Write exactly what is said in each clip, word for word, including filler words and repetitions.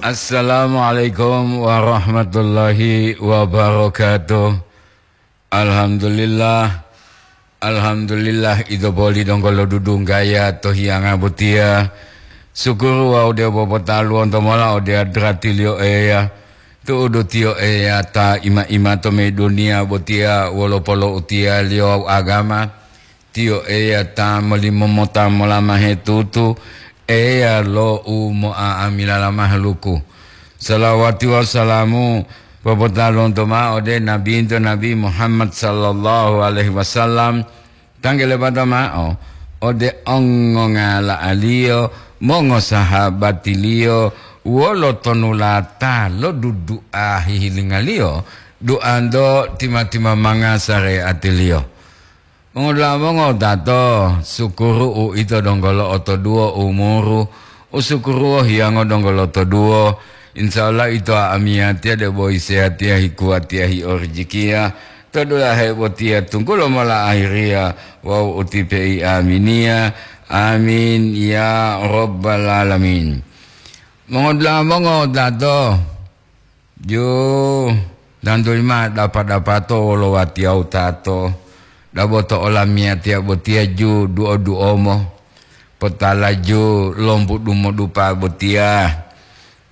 Assalamualaikum warahmatullahi wabarakatuh. Alhamdulillah. Alhamdulillah, ito poli donggo lodudunggaya to hiyanga botiya. Sukuru wawu de'u popotaluwonto mola ode adratiliyo Eya. Tu'udu tiyo Eya ta ima-ima to me duniya botiya wolo polo'utiyaliyo wawu agama. Tiyo Eya ta molimomota molamahe tutu, Eya lo u mo'a'amilala mahaluku. Salawati wawu salamu popotalonto ma'o ode Nabinto Nabi Muhammad sallallahu alaihi wasallam, tangge lepata ma'o ode ongongala'aliyo, mongosahabatiliyo, wolo tonulata lo dudu'a hihilingaliyo, du'anto tima-tima manga sare'atiliyo. Mongodula'a mongotato, sukuru uito donggo lo'otoduwo umuru, usukuruwo hiyango donggo lotoduwo. Insya Allah ito amiyatiya debo isehatiya hikuwatiya hiorijikiya, to dulahe botiya tunggulo mola ahiriya wawu utipe'i aminiya. Amin ya rabbal alamin. Mongodula'a mongotato, Ju, tantuli ma dapa-dapato wolo watiyawu tato, dabo to olamiyatiya botiya ju duo-duomo, potala ju lombu dumodupa botiya,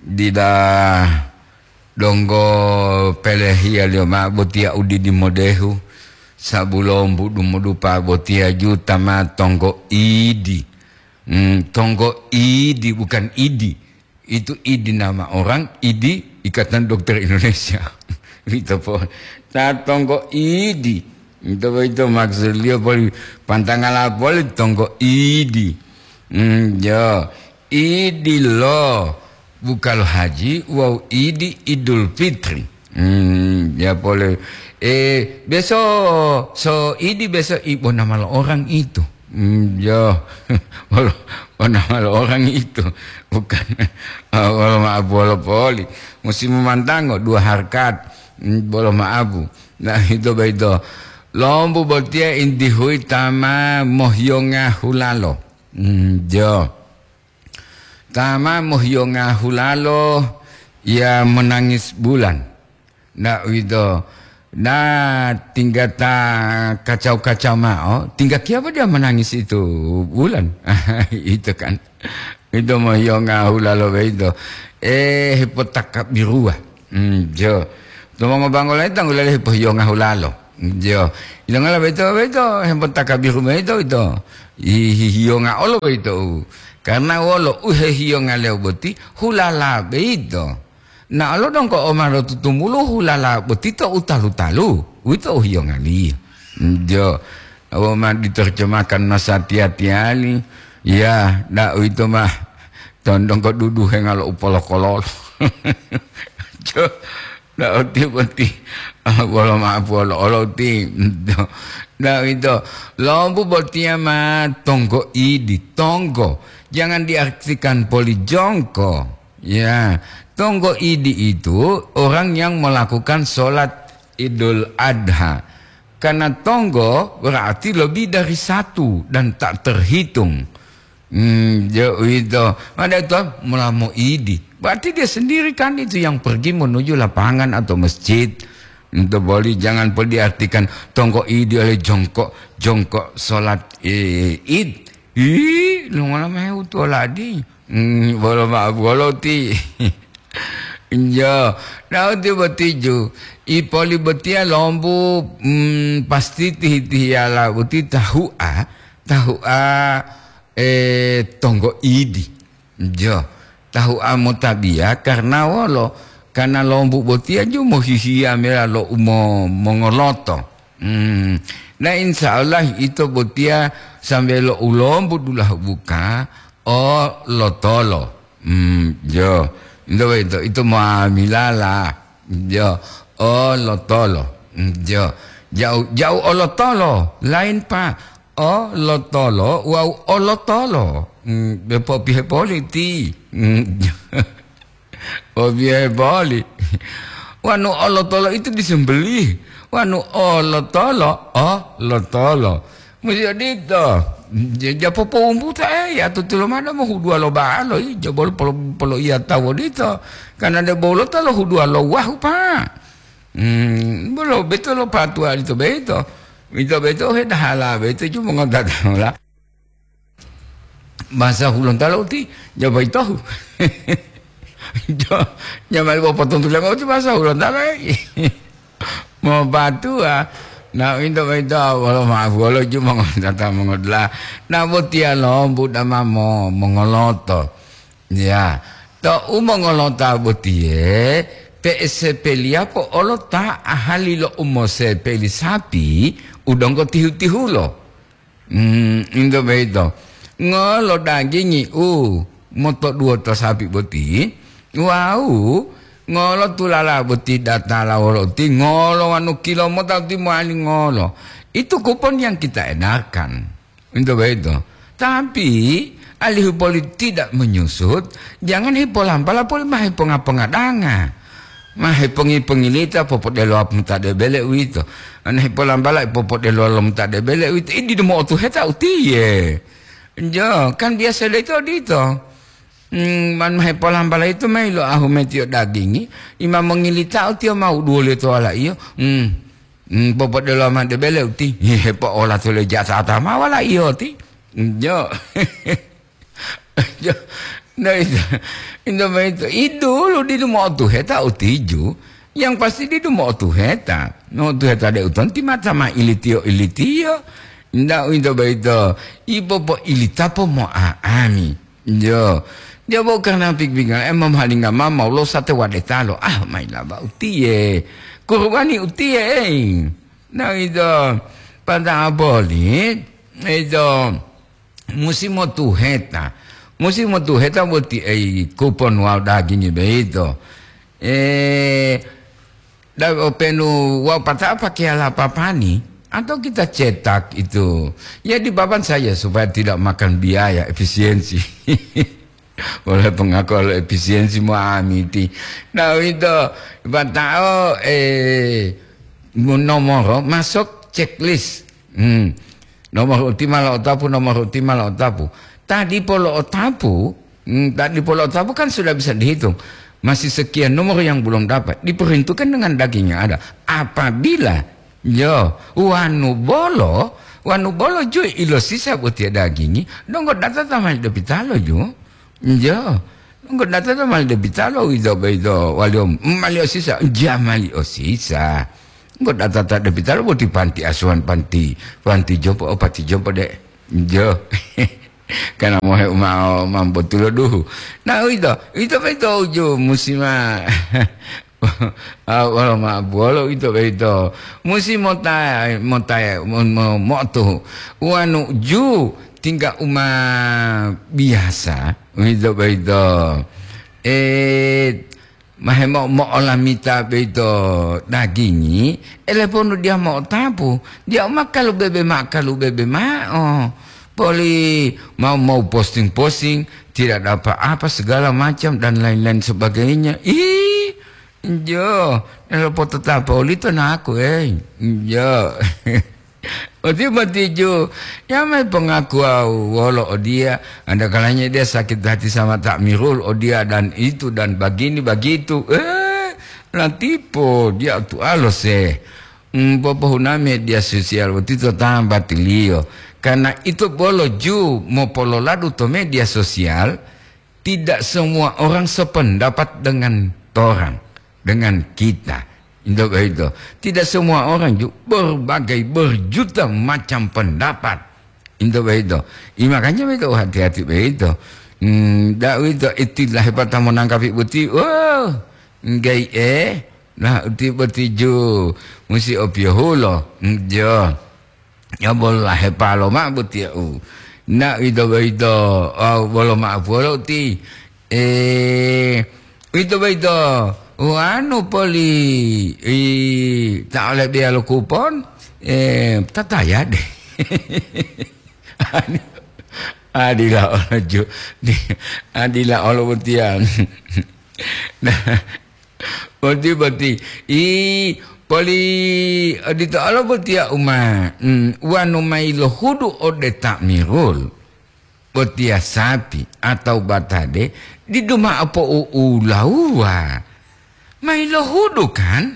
dila donggo pelehiyaliyo ma'o botiya u didi modehu, sabu lombu dumodupa botiya ju ta ma tonggo idi. Hmm, tonggo idi, bukan idi. Itu idi nama orang, idi Ikatan Dokter Indonesia. Ito po. Ta tonggo idi. Ito po ito maksudliyo poli pantangala poli tonggo idi. Hmm, jo. Idi lo bukalo haji wawu idi Idul Fitri. Hmm, ya pole. Eh, beso so idi beso ibo nama lo orang itu. Hmm, yo. Wolo, wolo, wolo orang itu. Bukan. Ah, wolo maabu wolo poli. Musim mantango dua harkat. Hmm, bolo maabu. Nah, itu begitu. Lombu botiya inti hui tama mohiyonga hulalo. Hmm, jo. Tama mohiyonga hulalo ya menangis bulan. Nah, uwito. Nah, tinggata kacau-kacau ma'o, tingga kiyapa dia menangis itu bulan? Itu kan. Itu mohiyonga hulalo beito. Eh, hepotakabiruwa. Hmm, jo. To mongobanggolayi tanggulali hepohiyonga hulalo. Jo. Ilongala beito, beito, hepotakabiru beito, ito. Hi-, hi-, hiyonga olo beito. Karena wolo uhehiyonga lewo boti, hulala beito. Na olo dongko o ma lotutumulu hulala boti to u talu-talu, uwito u hiyongaliyo. Jo, awo ma diterjemahkan masatiya-tiyali, ya, da uwito ma tondongko duduhenga lo u polokololo. Jo, da oti boti, ah, wolo ma polo olo ti. Da uwito, lombu botiya ma tonggo idi, tonggo. Jangan diartikan poli jongko. Ya, tonggo idi itu orang yang melakukan sholat Idul Adha. Karena tonggo berarti lebih dari satu dan tak terhitung. Hmm, jo uwito. Ada itu mulamo idi. Berarti dia sendiri kan itu yang pergi menuju lapangan atau masjid. Untuk boli jangan pun diartikan tonggo idi oleh jongkok, jongkok sholat, eh, id. Ih, lungola mahe utuwoladi. Hmm, bolo ma'o bolo ti. Injo, nahu ti botiju. Ipoli botiya lombu, hmm, pasti tihi-tihiyala boti tahu'a, tahu'a, eh, tonggo idi. Jo, tahu'a motabiya karna wolo? Karna lombu botiya ju mohihiya mela lo umo-, mongoloto. Hmm. Na insya Allah ito botiya sambe lo ulombu dulahu buka o lotolo. Hmm, jo. Ito, ito, ito muamilala. Jo. O lotolo. Hmm, jo. Jauh, jauh o lotolo. Lain, Pak. O lotolo wawu o lotolo. Hmm, be popihe poli ti. Hmm. Popihe poli. Wanu o lotolo itu disembelih. Wanu o lotolo, o lotolo. Musti odito. Ja-, ja popowumbuta, eh, ya tutulomada mohuduwa lo ba'alo, i, ja bolo polo-, poloiya tawu odito. Karena de bolo ta lohuduwa lo wahu, Pak. Hmm, bolo beto lo patuwa lito beto. Ito beto hedahala beto ju mongotataola. Bahasa Hulontalo uti, ja boyitohu. Jo, ja mali popotuntuliyo uti bahasa Hulontalo, eh. Mopatuwa, na uwito boyito wolo maaf wolo ju mongotata mongodula'a. Na botiya lombu dama mo-, mongoloto. Ya, to u mongolota botiye, pe'esepeliyapo olo ta ahali lo umosepeli sapi u donggo tihu-tihulo. Hmm, into boyito. Ngolo dagingi u motoduwo to sapi boti, wawu ngolo tulala boti datala wolo uti, ngolo wanu kilo mota uti mowali ngolo. Itu kupon yang kita edarkan. Into boyito. Tapi, alihu poli tidak menyusut, jangan hipolampala poli ma hiponga-ponga danga. Ma hipongi-pongilita popodelowapu ta debele uwito. Ana hipolampala popodelowapu ta debele uwito. Idi demo otuheta utiye. Jo, kan biasa de ito odito. Hmm, man ma hipolampala ito mayi lo ahu metiyo dagingi, ima mongilitao tiyo mau duwoliyo to walaiyo. Hmm. Hmm, popodelowa mao de bele uti. Hepo'ola tole jasata ma walaiyo ti. Jo. Jo. Nah, itu, itu, itu. Idulu didu mo'otuheta utiju. Yang pasti didu mo'otuheta. Mo'otuheta de utonti mata ma ilitiyo-ilitiyo. Nda uwito boyito. Ipo po ilitapo mo'a'ami. Jo, dia bo karna pik-pikal, eh, mamahalinga mama ulo sate wadetalo. Ah, mailaba utiye. Kurubani utiye, eh. Nah, itu. Pada aboli, itu. Musim motuheta. Musim motuheta boti, eh, kupon wawu dagingi beito. Eh, Da-, openu wau pata'o pakeya lapapani, atau kita cetak itu. Ya, di papan saja supaya tidak makan biaya, efisiensi. Oleh pengakuan lo efisiensi mo amiti. Nah, itu pata'o, eh, nomoro masuk checklist. Hmm. Nomor uti ma lo'otapu, nomor uti ma lo'otapu. Ta dipo lo'otapu, hmm, ta dipo lo'otapu kan sudah bisa dihitung. Masih sekian nomor yang belum dapat. Diperhitungkan dengan daging yang ada. Apabila, jo, wanu bolo, wanu bolo ju ilosisa botiya dagingi, donggo data ta mali depitalo ju. Jo, donggo data ta mali depitalo, ito, ito, waliyo, mali osisa, ja mali osisa. Donggo data ta depitalo boti panti asuhan, panti, panti jompo, oh, panti jompo de. Jo. Karena mohe umao mambotulo duhu. Nah, uwito, uwito boyito uju musi ma-, ah, wolo ma-, wolo uwito boyito. Musi mota-, mota-, mo-, mo-, mo'otuhu. Wanu ju tingga uma biasa, uwito boyito. Eh, Mahemo-, mo'olamita boyito dagingi, eleponu diya mo'otapu, diya u ma kalubebe mao, kalubebe mao. Poli mau, mau posting-posting, tidak ada apa-apa, segala macam, dan lain-lain sebagainya. Ih, jo, lopototapa olito naku, eh. Jo. Oti-, motiju, ya mai pengakuan wolo odiya, anda kalanya dia sakit hati sama takmirul odiya dan itu dan bagini bagitu. Eh, latipo dia tu alose. Hmm, popohuna media sosial boti to tambatiliyo. Karena itu bolo ju mopololadu to media sosial, tidak semua orang sependapat dengan torang, dengan kita. Into boyito. Tidak semua orang ju-, berbagai, berjuta macam pendapat. Into boyito. I, makanya boyito hati-hati boyito. Hmm, da uwito itilah hepata monangkapi boti. Oh, enggai eh. Nah, uti boti ju musi opiyohulo. Hmm, jo. Ya bolo lahepalo mao botiyau. Na uwito boyito, wawu bolo ma'o polo uti, eh, uwito boyito, wanu poli, i, ta ole biya lo kupon, eh, tatayade. Adila olo ju-, di-, adila olo botiya. Nah, Boti, boti. I, Poli odito olo botiya uma, mm, wanu mayi lohudu ode ta'mirul, botiya sapi atau batade, didu mao po'u'ulawuwa. Mayi lohudu kan?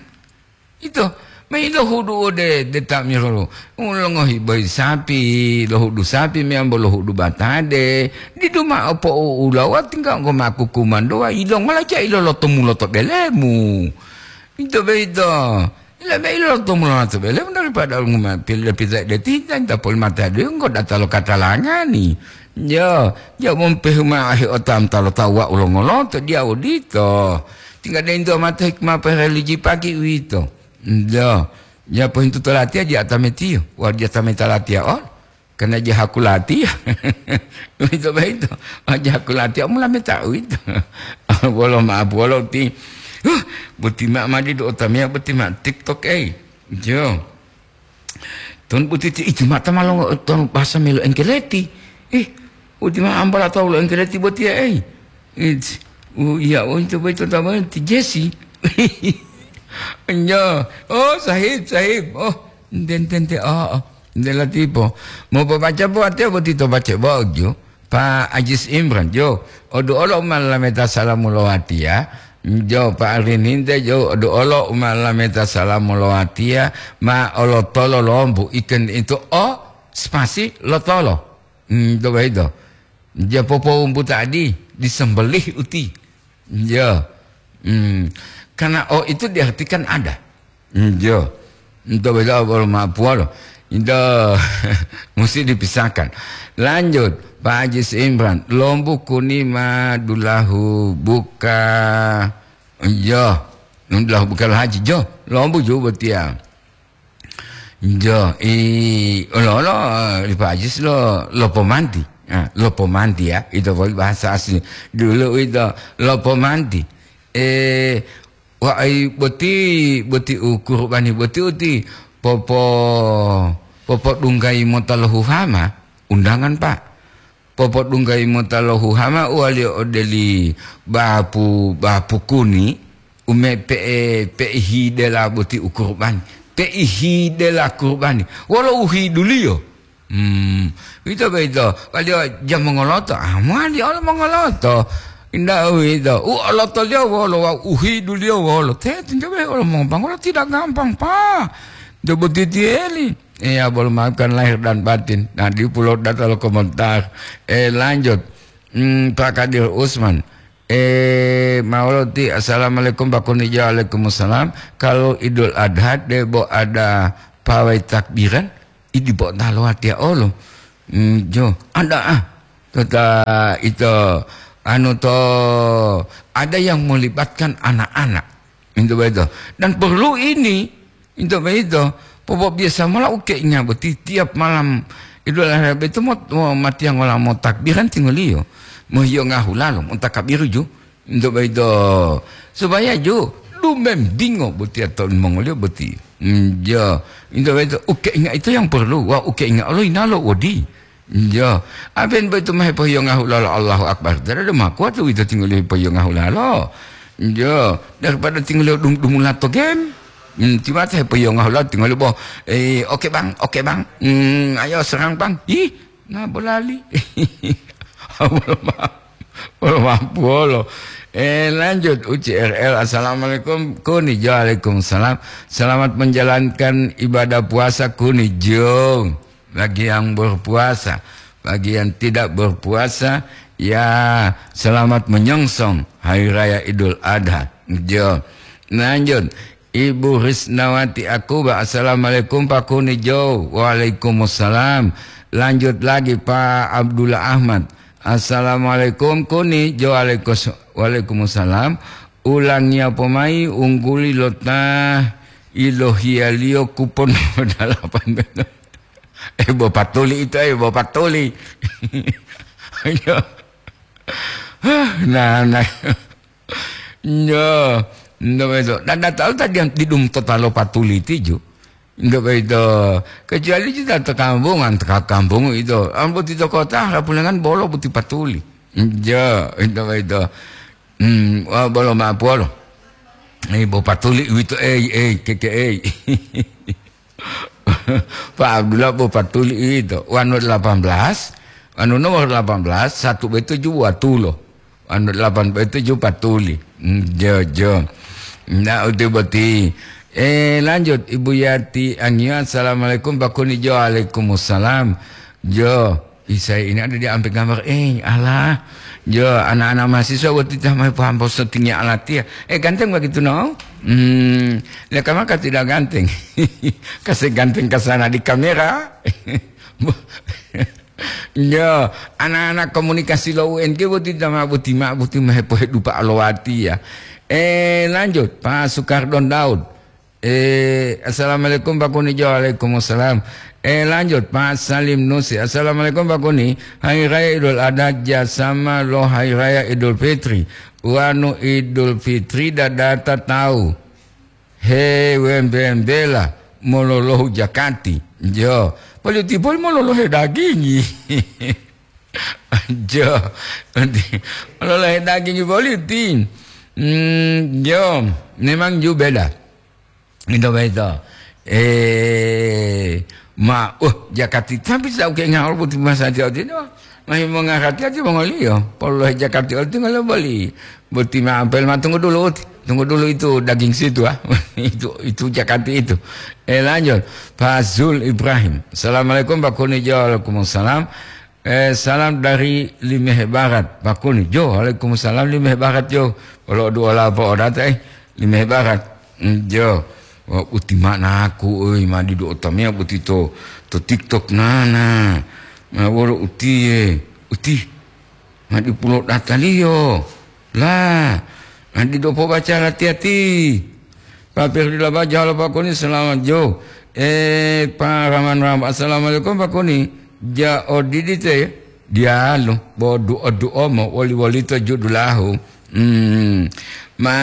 Ito, mayi lohudu ode de ta'mirul. Longohi boyi sapi, lohudu sapi meyambo lohudu batade, didu mao po'u'ulawuwa tingga enggo ma kukumandowa, ilongola ja ilolotomulo to belemu. Ito boyito. Lebe ilo to mulana to bele daripada nguma pile pita de tinta ta poli mata de engko data lo katalangani. Yo, yo mompehu ma ahi otam talo tawa ulo ngoloto dia odito. Tingga de into mata hikmah pereligi pagi uwito. Yo, ya pohintu to latiya dia tametiyo, wa dia tameta latiya ol. Karena jahaku latiya. Uwito boyito. Ah, jahaku latiya, mula meta uwito. Wolo ma'o wolo ti. Huh, boti ma'o madi do otameya boti ma'o TikTok, ei. Jo. Ton boti ti iti mata malo ton bahasa melo engkeleti. Ih, boti ma'o ambala tau lo engkeleti botiya, ei. It, u, iya, oh, itu boyito tamani ti Jesi. Nyo. Oh, sahib, sahib. Oh, enten, enten, enten. Oh, oh. Enten latipo. Mau pobaca po watiya boti to baca bojo. Pa Ajis Imran, jo. Odu olo uma lameta salamu lo watiya. Jo, Pa Arininte, jo. Odu olo uma lameta salamu lo watiya. Ma olo tolo lombu iken itu o spasi lo tolo. Hmm, to boyito. Ja popowumbu tadi, disembelih uti. Ya. Hmm. Karena o itu diartikan ada. Hmm, ya. Itu beda bolo mapuolo. Itu mesti dipisahkan. Lanjut, Pak Haji Imran. Lombu kuni ma dulahu buka. Ya. Dulahu buka haji. Jo, lombu juga botiya. Jo, i, olo-olo, eh, li Pak Ajis lo, lo pomanti. Ah, lo pomanti ya, itu poli bahasa asli. Dulu itu lo pomanti. Eh, wa ai boti, boti u kurubani boti uti popo, popodunggai mota lo huhama, undangan, Pak. Popodunggai mota lo huhama uwaliyo ode li bapu, bapu kuni, ume pe'e, pe'e hidela boti u kurubani. Pe'e hidela kurubani. Wolo u hiduliyo. Hmm, ito boyito, waliyo ja mongoloto. Ah, mowali olo mongoloto. Inda uwito. U olotoliyo wolo, wawu u hiduliyo wolo. Te, tinjo be olo mongopangolo tidak gampang, Pak. Cobo titiyeli. Iya, bolo maafkan lahir dan batin. Nah, di pulau data lo komentar. Eh, lanjut. Hmm, Pak Kadir Usman. Eh, Mauloti, assalamualaikum, Pak Kunijo, waalaikumsalam. Kalau Idul Adha, debo ada pawai takbiran, idi bo talo watiya olo. Hmm, jo, ada ah. Tota ito, anu to, ada yang melibatkan anak-anak. Itu betul. Dan perlu ini, itu betul. Popobiasa mola u keinga boti tiap malam Idul Adha beto mo, mo matiyangola mo takbiran tingoliyo. Mo hiyo ngahulalo, mo takabiru ju. Itu betul. Supaya ju, dumembingo boti atau mongoliyo boti. Hmm, jo. Itu betul. U keinga itu yang perlu. Wah, u keinga Allah inalo wodi. Iya, aben boyito ma hepohiyongahu lolo Allahu Akbar. Dada dema kuwatu uwito tingoliyo hepohiyongahu lalo. Iya, daripada tingoliyo dum-, dumula to game. Hmm, tiwata hepohiyongahu lalo tingoliyo bo, eh, "Oke, Bang, oke, Bang. Hmm, ayo serang, Bang." Ih, nah bolali. Bolo ma-, bolo mampu bolo. Eh, lanjut U C R L. "Assalamualaikum, Kuni Jo." "Waalaikumsalam. Selamat menjalankan ibadah puasa, Kuni Jo." Bagi yang berpuasa, bagi yang tidak berpuasa, ya, selamat menyongsong Hari Raya Idul Adha. Jo. Lanjut, Ibu Risnawati Akuba, "Assalamualaikum, Pak Kuni Jo." "Waalaikumsalam." Lanjut lagi, Pak Abdullah Ahmad, "Assalamualaikum, Kuni Jo." "Waalaikus-, waalaikumsalam." "Ulangiya pomai ungguli lo ta ilohiyaliyo kupon dalapan belas." Eh, bo patuli itu, eh, bo patuli. Ayo. Nah, nah. Nyo, nyo beto. Dan datalo tadi yang didum totalo patuli tiju. Nyo beto. Kecuali kita tekampung, antara kampung itu. Ambo di kota, rapulengan bolo buti patuli. Nyo, nyo beto. Hmm, wah, bolo mapolo. Eh, bo patuli uwito, ei, ei, keke, ei. Pak Abdullah bo patuli uwito. Wanu delapan belas, wanu nomor delapan belas, satu betuju watulo. Wanu delapan betuju patuli. Hmm, jo, jo. Nah, uti boti. Eh, lanjut, Ibu Yati Angio, "Assalamualaikum, Pak Kuni." Jo, "Waalaikumsalam." Jo, Isai ini ada di ampe gambar. Eh, Allah. Jo, anak-anak mahasiswa waktu itu mau paham poso tinggi alatiah. Eh, ganteng begitu, no? Hmm, lihat maka tidak ganteng. Kasih ganteng ke sana di kamera. Jo, anak-anak komunikasi lo U N G waktu itu mah buti mah buti mah hepohe dupa alowati ya. Eh, lanjut, Pak Sukardon Daud. Eh, "Assalamualaikum, Pak Kuni." Jo, "Waalaikumsalam." Eh, lanjut, Pak Salim Nusi. "Assalamualaikum, Pak Kuni. Hari Raya Idul Adha jasama lo Hari Raya Idul Fitri. Wanu Idul Fitri dadata tahu. He wembe-wembela mololohu jakati." Jo. Poli tipol mololohe dagingi. Jo. Mololohe dagingi poli ti. Hmm, jo, memang ju beda. Ito boyito. Eh, ma, uh, jakati, tapi saat uke ngawal boti masa tiyo tino. Mahi mongarati ati mongoliyo. Polohe jakati oti ngolo boli. Boti ma ampel ma tunggu dulu uti. Tunggu dulu itu daging situ, ah. Itu, itu jakati itu. Eh, lanjut. Pak Zul Ibrahim. "Assalamualaikum, Pak Kuni." Jo, "Waalaikumsalam." Eh, salam dari Limeh Barat, Pak Kuni. Jo, "Waalaikumsalam, Limeh Barat, jo." Olo duola po odata, eh, Limeh Barat. Mm, jo. Wa uti manaku, oi, ma didu otamia boti to, to TikTok nana. Ma wolo uti, eh, uti. Ma dipulo dataliyo. La, ma didu pobaca lati-ati. Pak Ferdila Bajo, "Halo, Pak Kuni, selamat jo." Eh, Pak Rahman Rahman, "Assalamualaikum, Pak Kuni." Ja odidi te, dialu, bo duo-duomo, woli-wolito judulahu. Hmm. Ma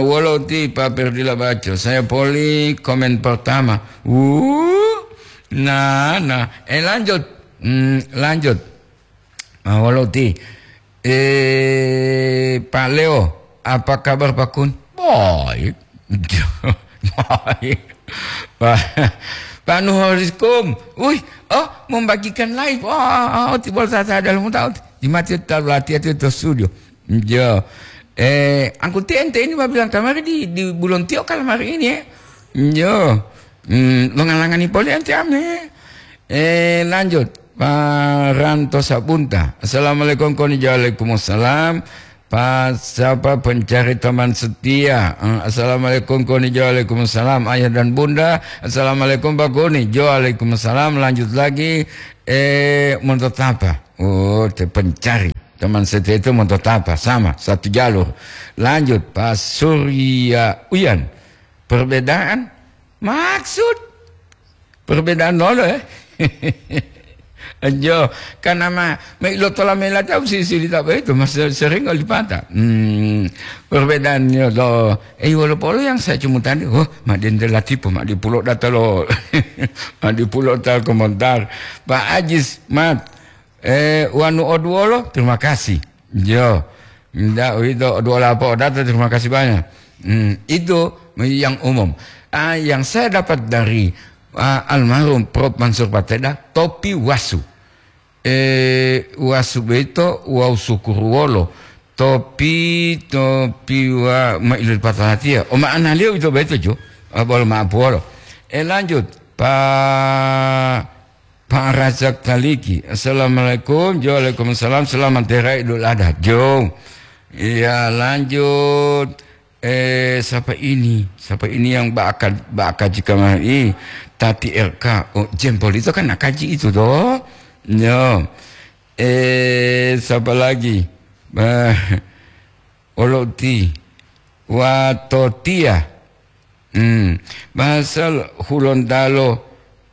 wolo ti Pak Ferdila Bajo, saya poli komen pertama. Wuh, nah, nah. Eh, lanjut. Hmm, lanjut. Ah, wolo ti. Eh, Pak Leo, apa kabar, Pak Kun? Baik. Baik. Pak, Pak Nuhoriskum. Wih, oh, membagikan live. Oh, oh, oh, timbul tata dalam tahu. Di mati tahu latihan itu studio. Jo. Eh, angkuti ente ini ma bilang kamari di, di Bulon Tio kalamari ini, ya. Jo. Hmm, mengalangani poli ente ame. Eh, lanjut. Pak Ranto Sabunta. "Assalamualaikum, Koni." Jo, "Waalaikumsalam." Pak siapa pencari teman setia? Eh, "Assalamualaikum, Koni." Jo, "Waalaikumsalam." Ayah dan Bunda, "Assalamualaikum, Pak Koni." Jo, "Waalaikumsalam." Lanjut lagi, eh, Monto Tapa. Oh, te pencari teman setia itu Monto Tapa, sama, satu jalur. Lanjut, Pak Surya Uyan. Perbedaan maksud perbedaan lolo, eh? Anjo, karena ma, ma ilo tola mela tahu si, si lita itu, mas sering kali patah. Hmm, perbedaannya lo, eh, wolo polo yang saya cuma tadi, oh, ma dende latipo, ma di pulo data lo, ma di pulo tal komentar. Pak Ajis, Mat, eh, wanu oduolo, terima kasih. Jo, ndak itu oduolo apa data, terima kasih banyak. Hmm, itu yang umum. Ah, yang saya dapat dari, ah, almarhum Prof Mansur Pateda, topi wasu. Eh, wasu beto wau sukuruwolo. Topi, topi wa ma ilil patalatia. O ma'analiyo ito beto jo. Ah, bolo ma'apuwolo. Eh, lanjut. Pa, Pak Razak Taliki. "Assalamualaikum." Jo, "Waalaikumsalam. Selamat Hari Raya Idul Adha." Jo. Iya, lanjut. Eh, siapa ini? Siapa ini yang baka, baka jika mah? Ih, Tati R K. Oh, jempol itu kan nakaji itu toh. Yo. Eh, siapa lagi? Bah, Oloti. Watotia. Hmm. Bahasa Hulontalo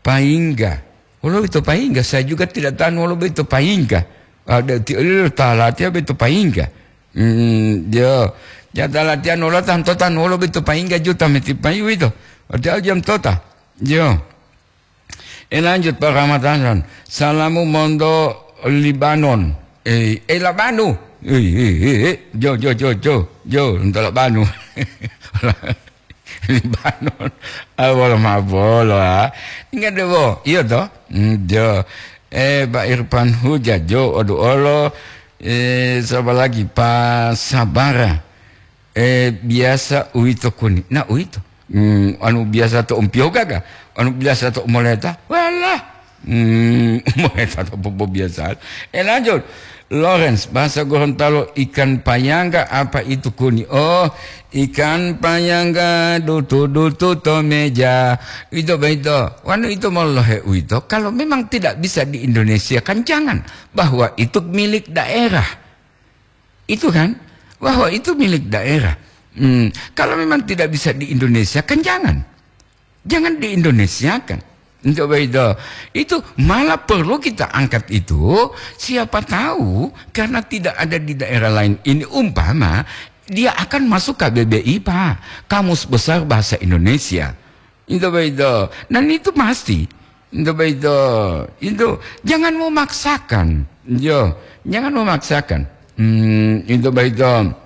paingga. Wolo ito paingga, saya juga tidak tahu wolo ito paingga. Ada ti olilo talati apa ito paingga. Hmm, yo. Ya talati anu lo tanto tan wolo ito paingga juta meti payu ito. Ada jam tota. Yo. Eh, lanjut, Pak Rahmat Hasan. Salamu monto Libanon. Eh, eh, Labanu. Eh, eh, eh, eh. Jo, jo, jo, jo. Jo, monto Labanu. Libanon. Ah, bolo ma bolo, ah. Ingat deh, bo. Iya, toh? Hmm, jo. Eh, Pak Irfan Huja, jo, odu olo. Eh, siapa lagi? Pak Sabara. Eh, biasa uwito kuni. Nah, uwito. Hmm, anu biasa to umpiyo gaga. Anu biasa to moleta. Walah. Hmm, moleta to popo biasa. Eh, lanjut. Lawrence, bahasa Gorontalo ikan payangga apa itu kuni? Oh, ikan payangga dutu-dutu to meja. Itu begitu. Wanu itu molohe uwito. Kalau memang tidak bisa di Indonesia, kan jangan. Bahwa itu milik daerah. Itu kan, bahwa itu milik daerah. Hmm, kalau memang tidak bisa di Indonesia, kan jangan. Jangan di-Indonesiakan. Coba itu. Itu malah perlu kita angkat itu, siapa tahu karena tidak ada di daerah lain. Ini umpama dia akan masuk K B B I, Pak. Kamus Besar Bahasa Indonesia. Itu begitu. Dan itu pasti. Itu begitu. Itu jangan memaksakan. Yo, jangan memaksakan. Hmm, itu begitu.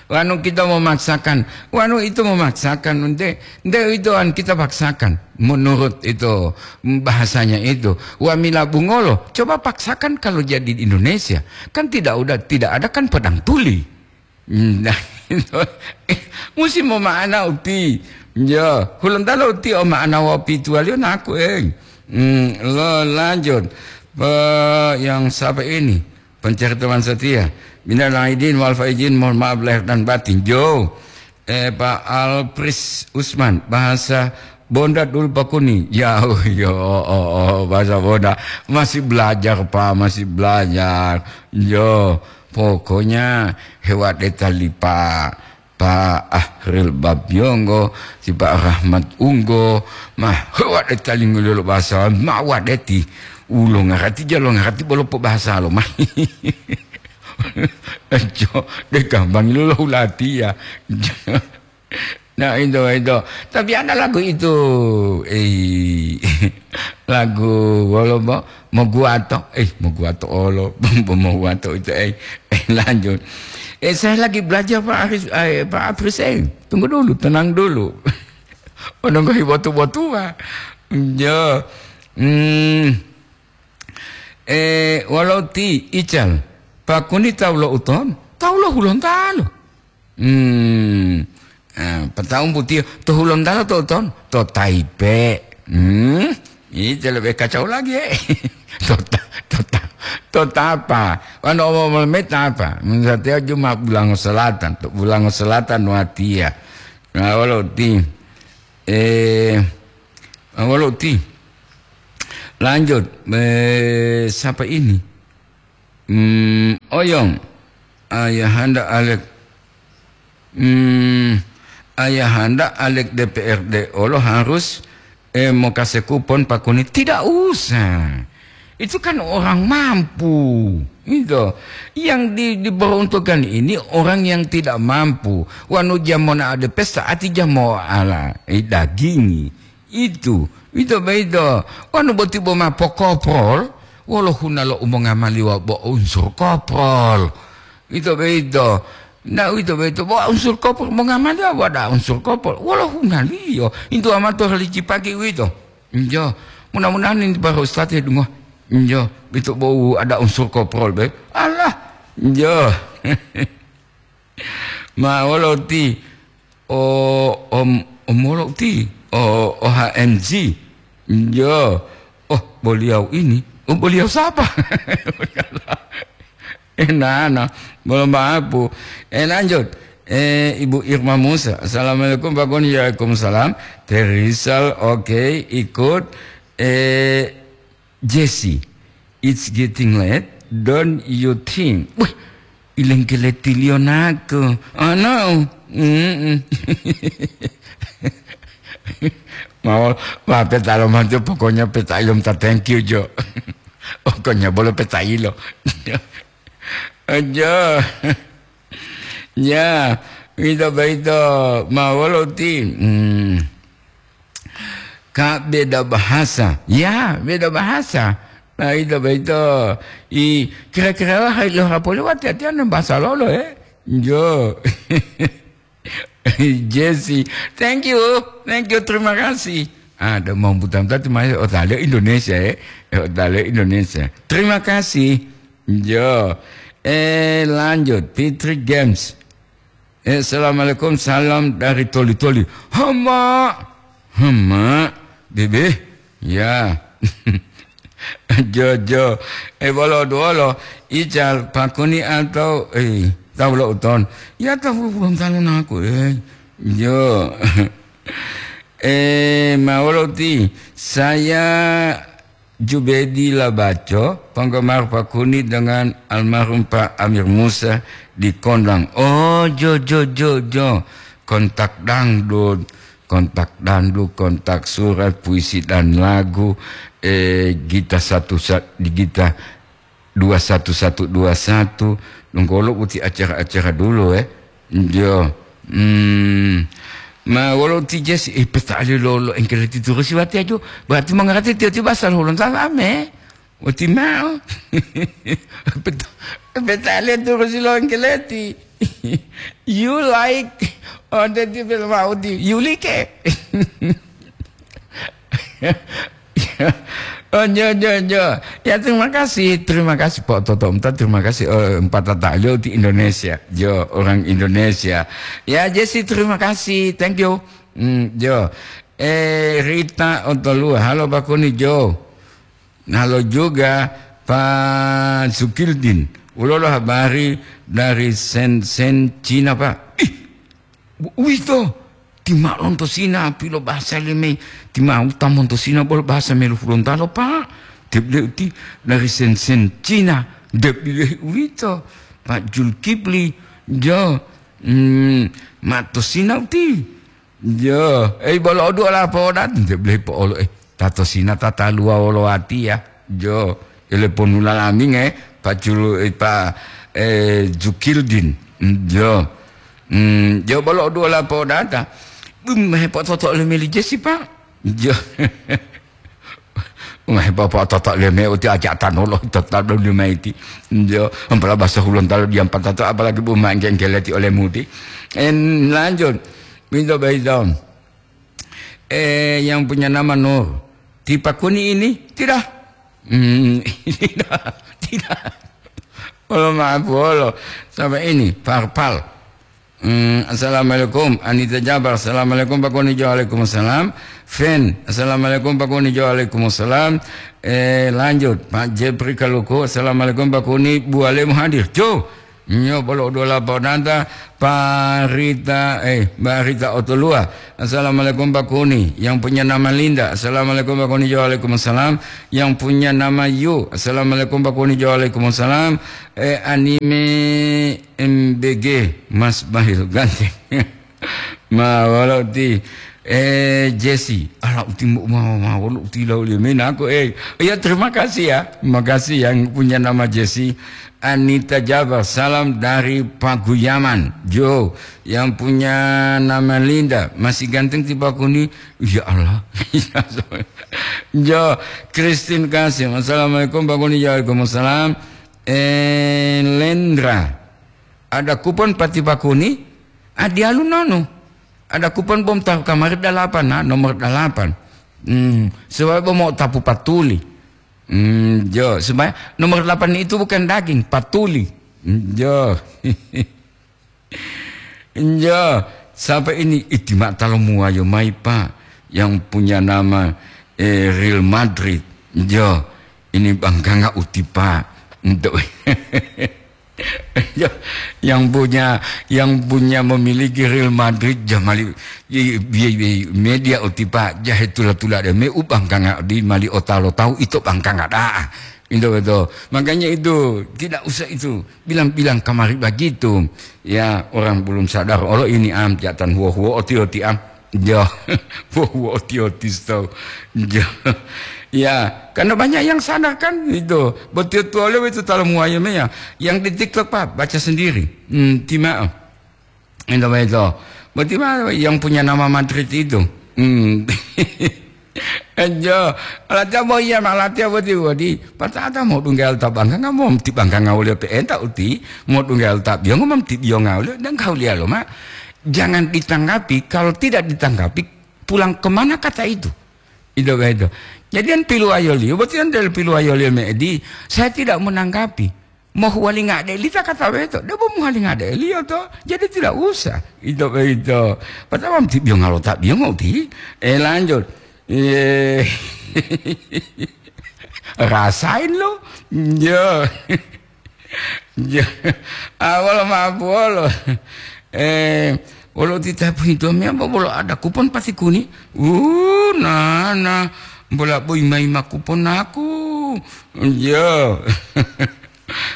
Wanu kita memaksakan, wanu itu memaksakan, ente, ente itu an kita paksakan. Menurut itu bahasanya itu, wamila bungolo, coba paksakan kalau jadi di Indonesia. Kan tidak udah, tidak ada kan pedang tuli. Nah, musim mau ma'ana uti. Ya, hulontalo uti o ma'ana wapi tuwaliyo naku, eh. Hmm, lo lanjut. Pe-, yang siapa ini? Pencari teman setia. Minal aidin wal faizin, mohon maaf lahir dan batin. Jo. Eh, Pak Alpris Usman, bahasa Bonda dulu pakuni. Ya, oh, yo, oh, oh, bahasa Bonda. Masih belajar, Pak, masih belajar. Yo, pokoknya hebat deta lipa. Pak Ahril Babiyonggo, ti Pak Rahmat Unggo, mah, hewa de talingo lolo bahasa, ma wadeti. Ulo ngarati, jalo ngarati, bolo po bahasa lo, mah. Jo, de gampang lo lo ulati ya. Nah, itu, itu. Tapi ada lagu itu, eh, lagu, wolo, Moguato, eh, Moguato olo, Moguato itu, eh, eh, lanjut. Eh, saya lagi belajar, Pak Arif, eh, Pak Apris, eh, tunggu dulu, tenang dulu. Ononggohi botu-botua. Ya. Hmm. Eh, walau ti ical, pakuni tawu lo uton, tawu lo hulontalo. Hmm. Ah, pata'u putiyo, to Hulontalo to ton, to Taipe. Hmm. Ito lebih kacau lagi, eh. To ta-, to ta-, to tapa. Wano omo-, omo-, me tapa. Misalnya Juma Bulango Selatan, to Bulango Selatan watia. Nah, walau ti, eh, walau ti. Lanjut, eh, siapa ini? Hmm, Oyong, Ayahanda Alek, hmm, Ayahanda Alek D P R D olo harus, eh, mokase kupon pakuni. Tidak usah. Itu kan orang mampu. Itu. Yang di-, diperuntukkan ini orang yang tidak mampu. Wanu jamona ada pesta, ati jamo ala, eh, dagingi. Itu, ito boyito. Wonu boti bo ma pokoprol, wolo hunalo u mongamaliwa bo unsur koprol. Ito boyito. Na uwito boyito, bo unsur koprol mongamaliwa bo ada unsur koprol. Wolo hunaliyo. Intu amato licipaki uwito. Injo. Mudah-mudahan ini para ustaz ya dungo. Injo, ito bo ada unsur koprol be. Allah. Injo. Ma wolo ti, o, om, omolo ti, o, O H M G. Yo, oh, beliau ini. Oh, beliau siapa? Eh, nah, nah. Belum mampu. Eh, lanjut. Eh, Ibu Irma Musa. Assalamualaikum, Pak Gun. Waalaikumsalam. Terisal, oke, ikut. Eh, Jesse, it's getting late, don't you think? Wih, ilengkeletiliyo naku. Oh, no. Mm-mm. Mau, ma peta lo mantu, pokoknya peta ilum ta thank you, Jo. Pokoknya bolo peta ilo. Aja. Ya, ito boyito, ma wolo ti. Hmm. Ka beda bahasa. Ya, beda bahasa. Nah, ito boyito. I, kira-kira lah, lo rapoli wati-watian bahasa lolo, eh? Jo. Jesse, thank you, thank you, terima kasih. Ada mau butam tadi mai otale Indonesia, ya. Otale Indonesia. Terima kasih. Jo. Eh, lanjut. Fitri Games. Eh, assalamualaikum, salam dari Toli-Toli. Hama, hama, bebe, ya. Jo, jo. Eh, bolo duolo, ical, pakuni atau, eh, tahu lo uton. Ya, tahu belum tahu naku, eh. Jo. Eh, ma wolo ti, saya Jubedi Labaco, penggemar Pakuni dengan almarhum Pak Amir Musa di Kondang. Oh, jo, jo, jo, jo. Kontak dangdut, kontak dangdut, kontak surat, puisi dan lagu, eh, gita satu sa-, di gita dua satu satu dua satu. Nunggolo uti acara-acara dulu, eh. Jo. Hmm. Ma wolo ti Jesse, eh, peta'ali lo, lo Engkeleti turusi wati ajo. Berarti mangarati tiyo ti basa lo Hulontalo ame. Wati mao. Peta-, peta'ali turusi lo Engkeleti. You like, oh, dadi belum mau di, you like. Oh, jo, jo, jo. Ya, terima kasih, terima kasih, Pak Toto. Minta terima kasih, eh, empat tata liu di Indonesia. Jo, orang Indonesia. Ya, Jesse, terima kasih. Thank you. Hmm, jo. Eh, Rita Otolua. Halo, Pak Kuni, jo. Halo juga, Pak Sukildin. Ulo lo habari dari Shenzhen, Cina, Pak. Ih, Bu-, uwito, ti ma lonto Sina pilo bahasa leme, ti ma uta monto Sina bolo bahasa melu Hulontalo, Pak. Debile uti dari Shenzhen, Cina. Debile uwito, Pak Julkipli, jo, mm, ma to Sina uti. Jo, eh, bolo odu ola podan, debile po olo, eh. Tato Sina tataluwa wolo watiya. Jo, ele ponula laming, eh, paculu, eh, pa, eh, Jukildin. Mm, jo. Mm, jo bolo dua lapo data. Bum, hepototo le meli Jesi, Pak. Jo. Umah hepototo le me uti aja tanolo total le maiti. Jo, ampala bahasa Hulontalo diam patato, apalagi bu mangkengkeleti oleh muti. En, lanjut. Minto baidon. Eh, yang punya nama Nur. Tipa Kuni ini? Tidak. Hmm, tidak, tidak. Olo maaf, olo. Sampai ini, Parpal. Hmm, assalamualaikum. Anita Jabar, assalamualaikum, Pak Kuni. Waalaikumsalam. Fen, assalamualaikum, Pak Kuni. Waalaikumsalam. Eh, lanjut, Pak Jepri Kaluku, assalamualaikum, Pak Kuni. Bu Alemu hadir. Jo. Nyo bolo dua lapo data, Parita, eh, Barita Otolua. Assalamualaikum, Pak Kuni. Yang punya nama Linda. Assalamualaikum, Pak Kuni. Waalaikumsalam. Yang punya nama Yu. Assalamualaikum, Pak Kuni. Waalaikumsalam. Eh, anime M B G, Mas Bahil ganteng. Ma, wolo uti, eh, Jesi, ala uti mo-, ma, ma, wolo uti lau limina aku, eh. Ya, terima kasih ya. Makasih yang punya nama Jesi. Anita Jabar, salam dari Paguyaman. Jo, yang punya nama Linda, masih ganteng ti Pak Kuni. Ya Allah. Jo, Christine Kasim, assalamualaikum Pak Kuni. Waalaikumsalam. Eh, Lendra. Ada kupon pati Pak Kuni? Ah, dialu nonu. Ada kupon bom tahu kamari dalapan, nah, nomor dalapan. Hmm, sebab mau tapu patuli. Hmm, jo, supaya nomor delapan itu bukan daging, patuli. Hmm, jo. Jo, sampai ini itimak talo muwayo mai, Pak, yang punya nama, eh, Real Madrid. Jo, ini bangkanga uti, Pak. Untuk Ya, yang punya, yang punya memiliki Real Madrid, jamali, i, i, i, media uti, Pak, jahe tula-tula de me ubangkanga di mali otalo tahu itu bangkanga daa. Itu betul. Makanya itu tidak usah itu bilang-bilang kamari begitu. Ya, orang belum sadar. Olo ini am, jatan huo-huo oti-oti am. Jo, wo, wo, oti-oti sto. Jo. Ya, karena banyak yang sadar kan itu. Betul-betul itu talo muwayo me ya. Yang di TikTok, Pak, baca sendiri. Hmm, timao. Itu, itu. Berarti ma-, yang punya nama Madrid itu. Hmm. Jo, latihan mau iya, ma latihan berarti, berarti. Patata mau tunggal tabangkang, mau ti bangkang ngau lihat enta uti, mau tunggal tabiyong, mau ti biyong ngau lihat, dan kau lihat lo, Mak. Jangan ditanggapi, kalau tidak ditanggapi, pulang kemana kata itu? Itu begitu. Jadi yang piluwayoliyo, berarti yang dari piluwayoliyo me'edi, saya tidak menanggapi. Mau huwalinga de lita kata beto, dia mau huwalinga de liyo to. Jadi tidak usah. Itu begitu. Pertama mesti biyo ngalota biyo ngoti. Eh, lanjut. Eh, rasain lo. Yo. Ya, awal maaf wolo. Eh, wolo tita pintu mi apa bolo ada kupon pati kuni? Uh, nana, bola boy mai makupon aku. Ya.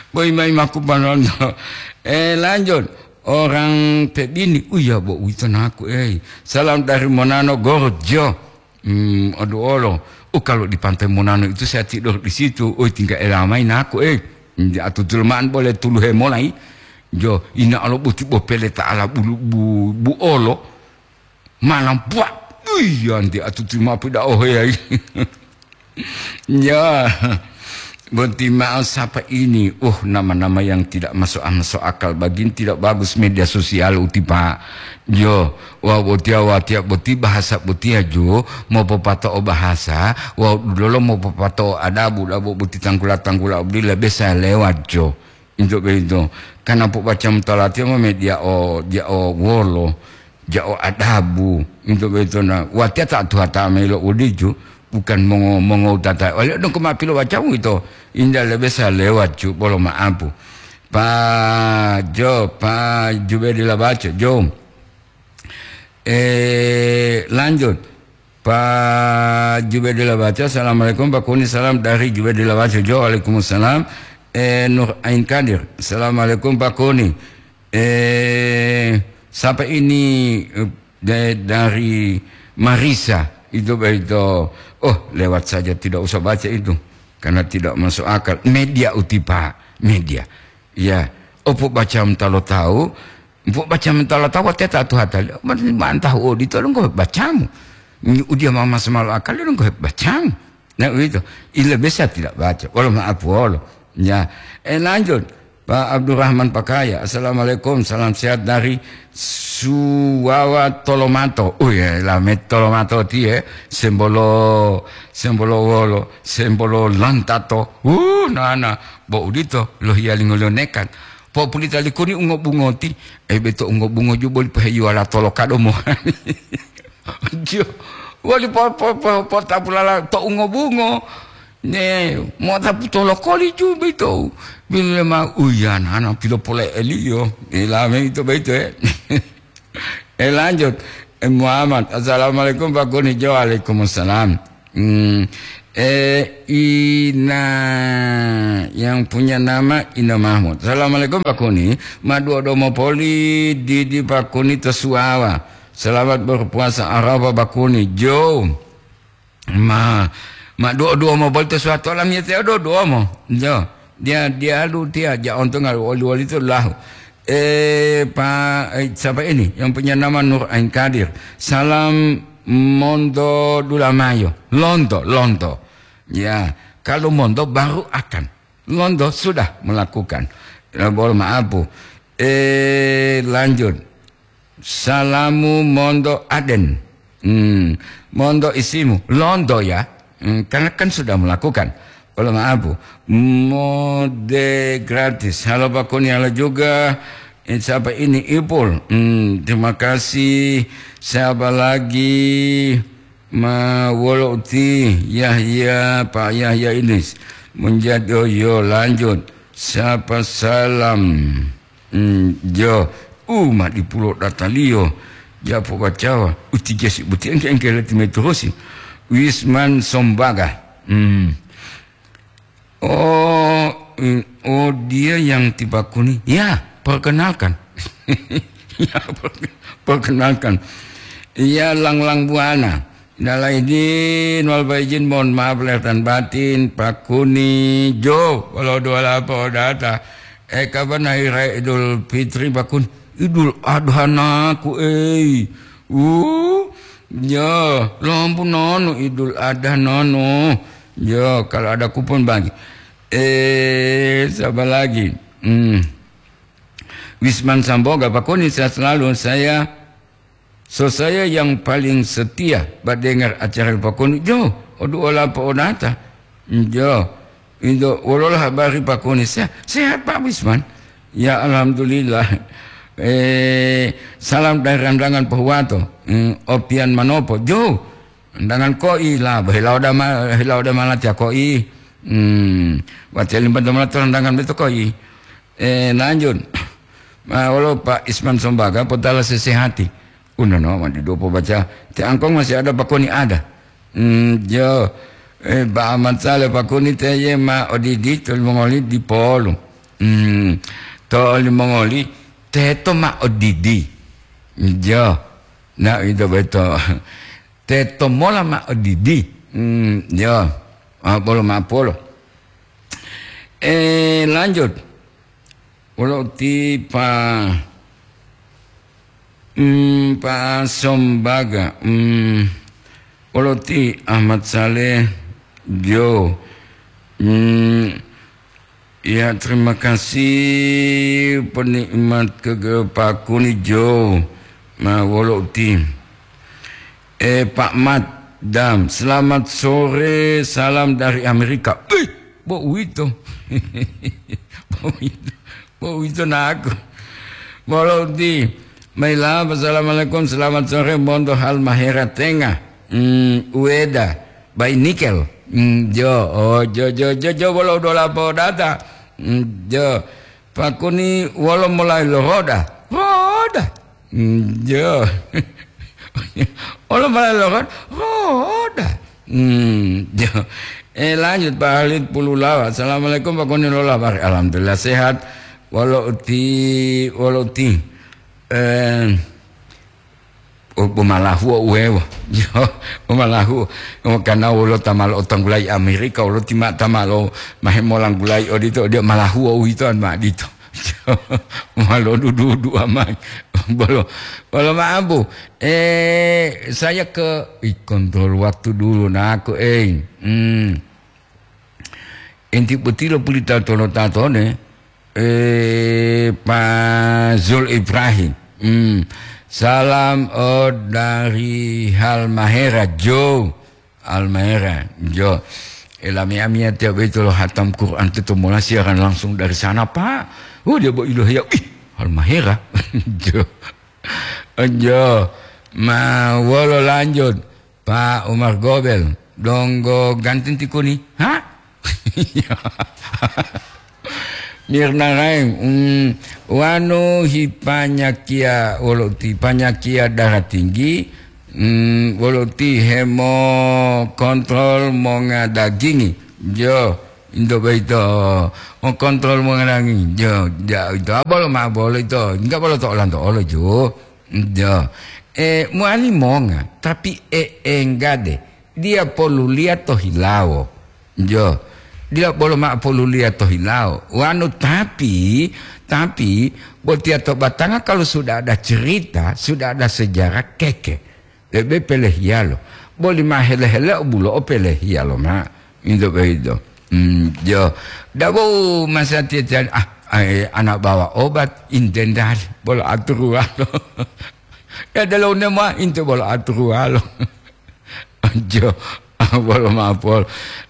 Boy mai makupon londo. Eh, lanjut. Orang Pebini, uya bo uwito naku, eh. Salam dari Monano Gorjo. Hmm, aduh olo. Oh, kalau di Pantai Monano itu saya tidur di situ. Oh, tinggal elamai naku, eh. Atutul ma'an boleh tuluhe molai. Jo, ina alo boti bopele ta'ala bulu bu, bu olo. Malam buat. Iya, nanti atutul ma'an pida ohe ai. Ya, bonti ma'o sapa ini. Uh, nama-nama yang tidak masuk, masuk akal. Bagin tidak bagus media sosial uti, Pak. Jo, wau botiya, watiya boti bahasa botiya jo, mopopato'o bahasa, wau dulolo mopopato'o adabu, dabo boti tanggula-tanggula bodi lebe saya lewat jo. Into boyito, karena pobaca mutolatiya ma media o, dia o wolo, dia o adabu. Into boyito na, watiya ta tuha ta melo uditu, bukan mongo, mongo tata. Wali dong kema pilo baca wito, indah lebe sa lewat cu, bolo maapu. Pa Jo, Pa Jubedi la baca, Jo. Eh, lanjut. Pak Jubedillah Baco, "Assalamualaikum Pak Kuni, salam dari Jubedillah Baco." Jo, "Waalaikumsalam." Eh, Nur Ain Kadir, "Assalamualaikum Pak Kuni." Eh, siapa ini? Eh, da-, dari Marisa. Itu begitu. Oh, lewat saja, tidak usah baca itu. Karena tidak masuk akal. Media uti, Pak. Media. Ya. Opo baca talo tahu, Mpo baca mentala tawa teta tu hatali, man, man tahu odito donggo bacamu. Udia mama semalo akali donggo bacamu. Nah, begitu. Ila bisa tidak baca. Wala maaf, wala. Ya. Eh, lanjut. Pak Abdurrahman Pakaya, "Assalamualaikum, salam sehat dari Suwawa Tolomato." Oh ya, lame Tolomato tie, sembolo, sembolo wolo, sembolo lantato. Uh, nana, bo udito, lohiya lingolio nekan. Populita likuni ungo bungoti, eh, beto ungo bungo ju boli poheyuwala tolokado mohani. Jo, wali po, po, po, potapulala to ungo bungo. Ne, motapu tolokoli ju beto. Bile ma uyanana pilo pole eliyo. Ilame ito beto, eh. Eh, lanjut. Eh, Muhammad, "Assalamualaikum, Pak Kuni." Jo, "Waalaikumsalam." Hmm, eh, Ina, yang punya nama Ina Mahmud. "Assalamualaikum, Pak Kuni. Maduo domo poli didi Pak Kuni to Suwawa. Selamat berpuasa Arafah, Pak Kuni." Jo. Ma, ma duo-duo mo bolto suwatola miyete o duo-duo mo. Jo, dia, dia lu dia ja onto ngal woli-woli to lahu. Eh, pa, eh, siapa ini? Yang punya nama Nur Ain Kadir. "Salam monto dulamayo." Lonto, lonto. Ya, kalau monto baru akan. Lonto sudah melakukan. Ya, bolo maapu. Eh, lanjut. Salamu monto aden. Hmm, monto isimu. Lonto ya. Hmm, karena kan sudah melakukan. Wala maapu. Mode gratis. Halo Pak Kuni, halo juga. Eh, siapa ini? Ipul. Hmm, terima kasih. Siapa lagi? Ma wolo uti Yahya, Pak Yahya Idris. Menjadi, oh, yo, lanjut. Siapa salam? Hmm, jo, u ma dipulo dataliyo, japo bacawa, uti jasi buti engke-engke leti mai turusi. Wisman Sombaga. Hmm. Oh, in-, oh, dia yang tiba kuni. Ya, perkenalkan. Ya, perke-, perkenalkan. Iya, Langlang Buana. Minal aidin wal faizin, mohon maaf lahir dan batin, Pak Kuni, jo, kalau dua lapo data. Eh, kapan hari raya Idul Fitri, Pak Kuni? Idul Adha naku, eh. Uh, ya, lampu nonu Idul Adha nonu. Ya, kalau ada kupon bagi. Eh, siapa lagi? Hmm. Wisman Samboga, Pak Kuni, sehat selalu. Saya So saya yang paling setia mendengar acara Pak Koni, jo, odu ola po odata. Jo, indo wolola habari Pak Koni? Sehat, sehat Pak Wisman. Ya, alhamdulillah. Eh, salam dari Randangan Pohuwato. Hmm, Opian Manopo, jo. Randangan koi la, hilawo dama, hilawo dama latiya koi. Hmm, watiya limba dama latiya Randangan beto koi. Eh, lanjut. Ma wolo Pak Isman Sombaga potala sesehati. Unono ma didu pobaca. Te angkong masih ada Pak Koni ada. Hmm, jo. Eh, Pak Ahmad Saleh Pak Koni teye ma odidi to limongoli dipolu. Hmm, to limongoli teto ma odidi. Jo. Na ito beto. Teto mola ma odidi. Hmm, jo. Ah, bolo ma polo. Eh, lanjut. Wolo ti pa, hmm, Pak Sombaga, hmm, wolo ti Ahmad Saleh, jo, hmm, ya, terima kasih penikmat ke, ke Pak Kuni, jo, ma wolo ti. Eh, Pak Mat Dam, selamat sore, salam dari Amerika. Ih, bo uwito. Bo uwito. Bo uwito naku. Bolo uti. Maila, assalamualaikum, selamat sore, monto Halmahera Tengah. Hmm, Ueda, Bai Nikel. Hmm, jo, oh, jo, jo, jo, jo, bolo dola po data. Hmm, jo. Pakuni wolo mulai lo roda. Roda. Hmm, jo. Wolo mulai lo roda. Roda. Hmm, jo. Eh, lanjut Pak Halid Pululawa. Assalamualaikum Pak Kuni, lola bari. Alhamdulillah sehat. Wolo uti, wolo uti. Eh, o, bo malahuo uwewo. Jo, bo malahuo. Karena wolo ta ma lo'otanggulayi Amerika, wolo ti ma ta ma lo mahe molanggulayi odito, odiya malahuo uwito an ma dito. Jo, ma lodudu-dudu amai. Bolo, bolo maapu. Eh, saya ke, ih, kontrol waktu dulu, naku, eh. Hmm. Inti botilo pulita tolo tatone, eh, Pak Zul Ibrahim. Hmm. Salam, oh, dari Halmahera, Jo. Halmahera, Jo. Eh, lami amia tiap itu lo hatam Quran itu mola siaran langsung dari sana, Pak. Oh, dia bawa ilohiya. Ih, Halmahera. Jo. Jo. Ma wolo lanjut. Pak Umar Gobel, donggo ganti tikuni. Ha? Mirna Raeng, mm, wanu hi panyakia wolo ti panyakia darah tinggi, mm, wolo ti hemo kontrol monga dagingi. Jo, into boyito, o kontrol monga dagingi. Jo, ja, ito abolo ma bolo ito. Enggak bolo to olanto olo, jo. Jo. E, mowali monga, tapi e, enggade. Dia poluliya to hilawo. Jo. Dia bolo mao poluliya to hilawo. Wanu tapi, tapi, botiya to batanga kalau sudah ada cerita, sudah ada sejarah, keke. Lebe pelehiyalo. Boli ma hele-hele bulo o pelehiyalo ma. Into boyito. Hmm, jo. Dabo masatiya-tiya, ah, ai, anak bawa obat, intendali. Bolo aturuwalo. Ya, delo ne ma, into bolo aturuwalo. Jo, bolo mapol.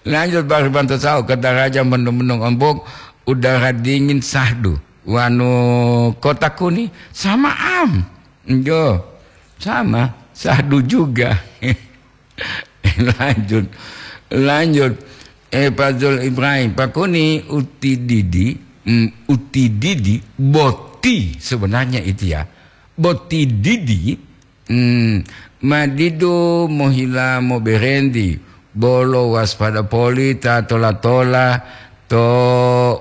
Lanjut, bari bantu sao ke daraja mendung-mendung ombok, udara dingin sahdu. Wanu kota kuni, sama am. Jo, sama, sahdu juga. Lanjut, lanjut. Eh, Pak Zul Ibrahim, Pak Kuni utididi, mm, utididi, boti sebenarnya itu ya. Boti didi, hmm, ma didu mohila moberenti, bolo waspada poli ta tola-tola to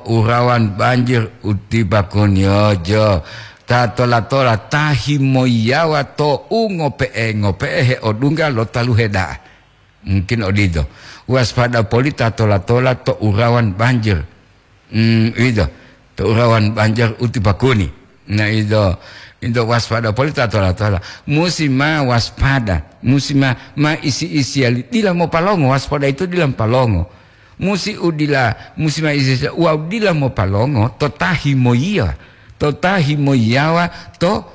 urawan banjir uti Pak Kuni ojo. Ta tola-tola ta himoyiyawa to u ngope'e-ngope'e heodungga lo taluhe da'a. Mungkin odito. Waspada poli ta tola-tola to urawan banjir. Hmm, ito. To urawan banjir uti Pak Kuni. Nah, ito, ito waspada poli ta tola-tola. Musi ma waspada. Musi ma, ma isi-isiali. Dila mopalongo, waspada itu dila mopalongo. Musi udila, musi ma isi-isi, wa udila mopalongo, to ta himoyiya. To ta himoyiyawa, to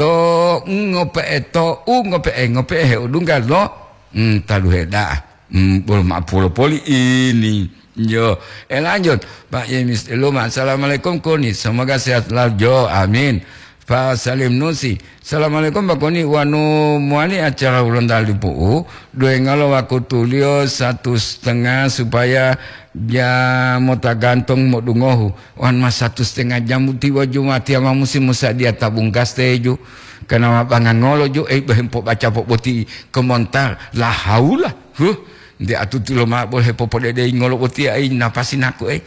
to, ngope'e to, u ngope'e, ngope'e heudungga lo, mm, taluhe da'a. Mm, bolo ma'apulo poli ini. Yo, e lanjut. Pak Yemis Eluma, "Assalamualaikum Kuni, semoga sehat selalu." Jo, amin. Pak Salim Nusi, "Assalamualaikum Pak Kuni, wanu muali acara ulang tali pu'u, duengalo wakutuliyo satu setengah supaya ja mota gantong modungohu." Wan ma satu setengah jam tiwa Jumati ama musi musadiya tabung gas teju. Kana ma bangangolo ju, eh, bohem pobaca po boti komentar. La haula. Huh. Nde atuti lo ma bol hepopodedei ngolo boti ai napasi naku, eh.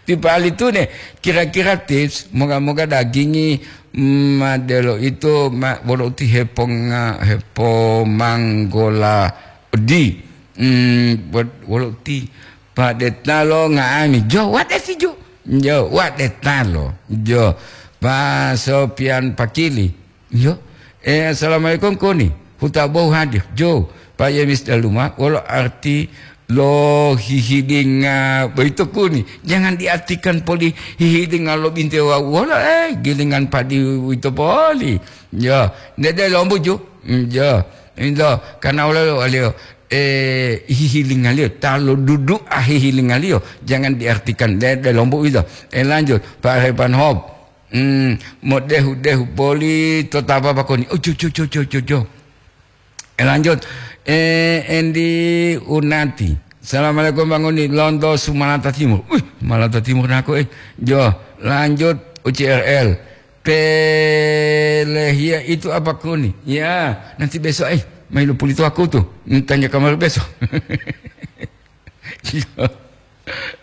Tipali tune, kira-kira tips, moga-moga dagingi, mm, ma delo itu, ma, wolo uti heponga-, hepomanggola di. Mm, wot-, wolo uti Pak Detalo nga'ami. Jo, what is it, jo? Jo, what Detalo? Jo, Pak Sopian Pakili. Jo, eh, "Assalamualaikum Kuni. Huta bou hadir." Jo, Pak Yemis Daluma, wolo arti lo hihilinga boyito Kuni? Jangan diartikan poli hihilinga lo binte wawu wolo, eh, gilingan padi uwito poli. Jo, nede lombu ju. Mm, jo, into, karena wolo waliyo, eh, hihilingaliyo, ta lo dudu'a hihilingaliyo, jangan diartikan de, de lombu itu. Eh, lanjut, Pak Repan Hop. Hmm, modehu-dehu poli to tapa pakoni. Oh, jo, jo, jo, jo, jo, jo. Eh, lanjut. Eh, Endi Unati. "Assalamualaikum Bang Uni, lonto Sumalata Timur." Wih, Sumalata Timur naku, eh. Jo, lanjut U C R L. "Pelehia itu apa Kuni?" Ya, nanti besok, eh, mailo pulito aku tuh. Hmm, tanya kamar besok.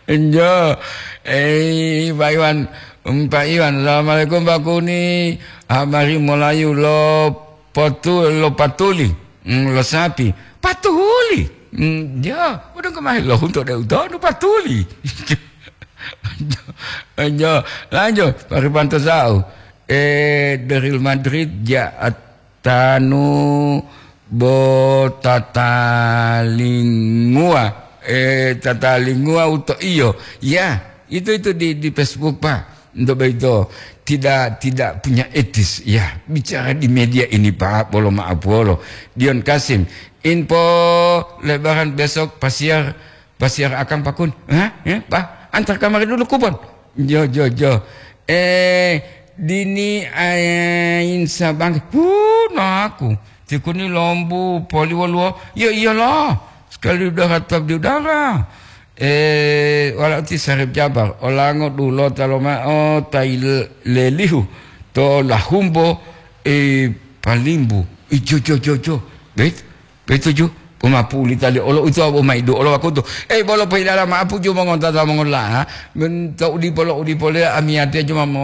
Enjo. Eh, Pak Iwan, um, Pak Iwan, "Assalamualaikum, Pak Kuni. Habari molayu lo potu-, lo patuli, mm, lo sapi." "Patuli?" Mm, ya, udah kemarin lo untuk de utonu patuli. Enjo, lanjut, Pak Rifanto Sau. Eh, dari Madrid, ja, tanu bo tatalingua, eh, tatalingua uto iyo. Ya, itu, itu di, di Facebook, Pak. Untuk begitu, tidak, tidak punya etis. Ya, bicara di media ini, Pak, bolo maaf, bolo. Dion Kasim, info lebaran besok pasiar Pasiar akang pakun. Hah? Ya, Pak, antar kamari dulu kupon. Jo, jo, jo. Eh, dini ain sabang. Hu, naku. Tikuni lombu poli woluwo. Yo, iyalah. Sekali udara tetap di udara. Eh, wala uti Sarip Jabar. Olango dulo talo ma'o tai le-, lelihu. To lahumbo, eh, palimbu. Ijo, jo, jo, jo. Bet? Pituju, poma pulita li olo uto abo maidu olo wakutu. Eh, bolo pohilala ma'apu ju mongontata mongola, men to udipo lo udipo le amiyatiya ju mamo